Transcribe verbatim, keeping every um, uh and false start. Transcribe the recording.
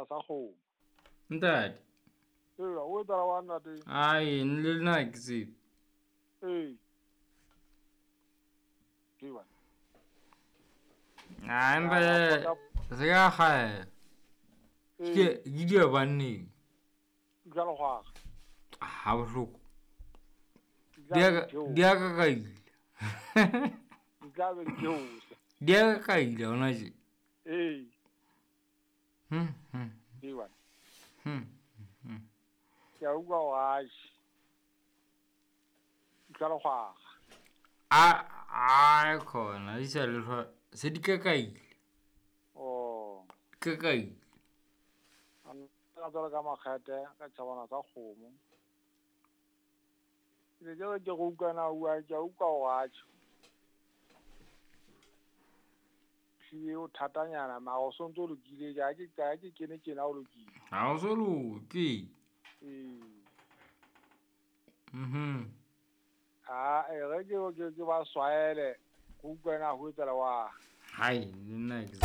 tšhabana sa kgomo. Ntate. Ee, o etsala wa ntate. Ai, le nna ke tsebe. Ee. Ke bana. Ah, empa se ka kgaela. Ke ke di banneng. Jalo gwa. Ha bohloko. Di a di a ka kaile. Di tla be di theosa. Di a ka kaile hona tje. Ee. Hmm. Hmm. Ke bana. Hmm. Hmm. Ke a utlwa hore atjhe. Jalo gwa. A a khona di sa le se di ka kaile. Oh. Ka kaile. Ka tswela ka makgethe ka tšhabana sa kgomo. Ke ke ke go utlwa na ua ke a utlwa hore atjhe. Hlile o thatanyana mara o sontso o lokile ke ha ke ha ke kene tjena o lokile. Ha o so loke. Ee. Mhm. Ah, e re ke ke ke ba swaele go utlwa na ho etsala wa. Hai, le nna ke